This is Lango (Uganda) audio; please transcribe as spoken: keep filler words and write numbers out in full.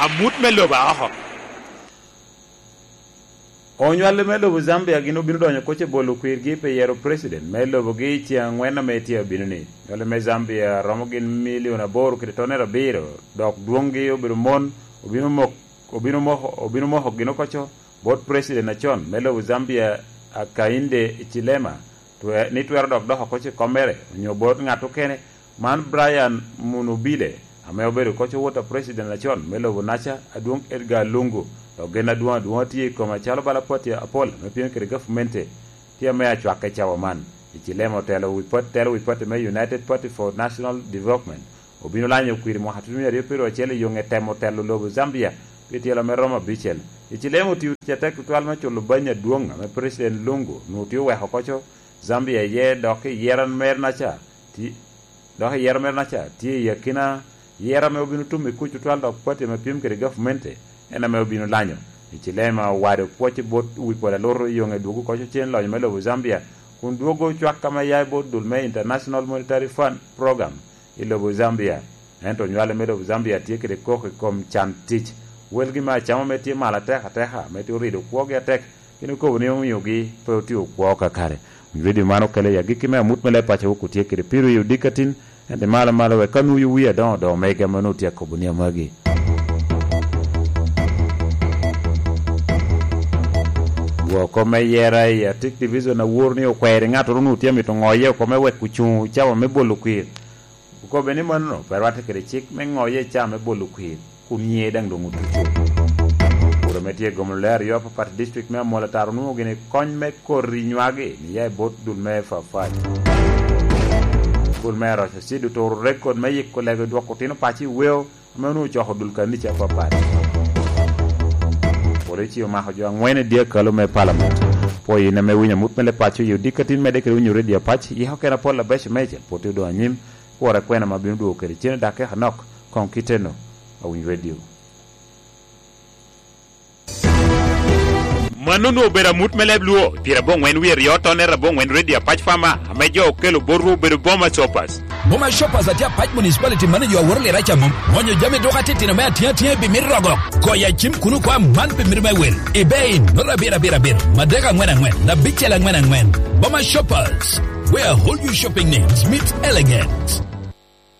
Amut me lobo a oko. Onywali me lobo Zambia gin obino donyo koc i bolo kwirgi pi yero president me lobogi i ceŋ angwen ame tye abino-ni. Onywali me Zambia romo gin milion aboro kede tonere abiro, dok dwoŋgi obedo mon, obino mok-, obino moko, obino moko gin okoco bot president acon me lobo Zambia, Hakainde Hichilema, twe-, ni twero dok dok oko i kommere, onyo bot ŋat okene, man Brian Munubile, ame obedo koc owot a president acon me lobo naca, adwoŋ Edgar Lungu, dok gen adwoŋ adwoŋ tye i kome acalo bala pati apol ame pyem kede gavumenti, tye ame acwakke cawa man. Hichilema otelo wi pat-, telo wi pati me United Party for National Development, obino lanyo kwir mwaka tutumia aryo pyeraryo acel i yoŋe temo telo lobo Zambia pi tyelo me romo abicel. Hichilema otio tic atek tutwal me culo banya adwoŋ ame President Lungu onwoŋo tye oweko koco Zambia iye, dok i yero merenaca ti-, dok i yero merenaca tye i akina yero ame obino tum i kuc tutwal, dok pati ame pyem kede gavumenti en ame obino lanyo. Hichilema owado pwoc bot wi pol alutu i yoŋe dwogo koco cen lonyo me lobo Zambia, kun dwogo cwak ame ya i bot dul me International Monetary Fund Program i lobo Zambia. Ento onywale me lobo Zambia tye kede koko i kom can tic. Welgi me acama ame tye malo atek ateka, ame tye orido kwogi atek, gin okobo ni omiogi pe otio kwo kakare. Onywali man okelo i agikki me amut me leb paco wok otye kede piro i odikatin, ento malo malo wek ka nwoyo wie adoŋo doŋo mege ame onwoŋo tye akobo ni amagi. Woko me yera i Atik Division awor ni okwero i ŋattoro onwoŋo tye amito ŋoye oko me wek ocuŋ cawa me bolo kwir. Okobbe ni mano pe rwatte kede cik me ŋoye i caa me bolo kwir, kun nyiŋe daŋ doŋ otuco. Kuro ame tye gomo lule aryo apapat i district me Amol Atar onwoŋo gini kony me koti nywagi ni ya i bot dul me Fafat. Dul me Aroca Cid oturo rekod me yiko lego dwoko otino paco i weo ame onwoŋo ocoko dul kanica apapat. Polisi omako jo angwen i dyekalo me palamen. Pwoyo in ame winyo amut me leb paco i odikatin medde kede winyo redio Apac, yiko kena pol abeco meicel, pwod odoŋ anyim. Kwora kwena ma bino dwogo kede cene dakika nok, koŋ kiteno, awiny redio. Mano onwoŋo obedo amut me leb Luo, pyerabongwen wie ryo tonere abongwen redio Apac Fama, ame jo okelo botwu obedo Boma Shoppers. Boma Shoppers atye Apac Municipality manager aworo lira ca mom. Onyo jami duka titino me atiŋ atiŋa i bimit rogo. Goyo acim kuno kwa man pi mito me wel. Ebei, noto abiro abiro abiro, madek angwen angwen, abicel angwen angwen. Boma Shoppers, where all your shopping needs meet elegance.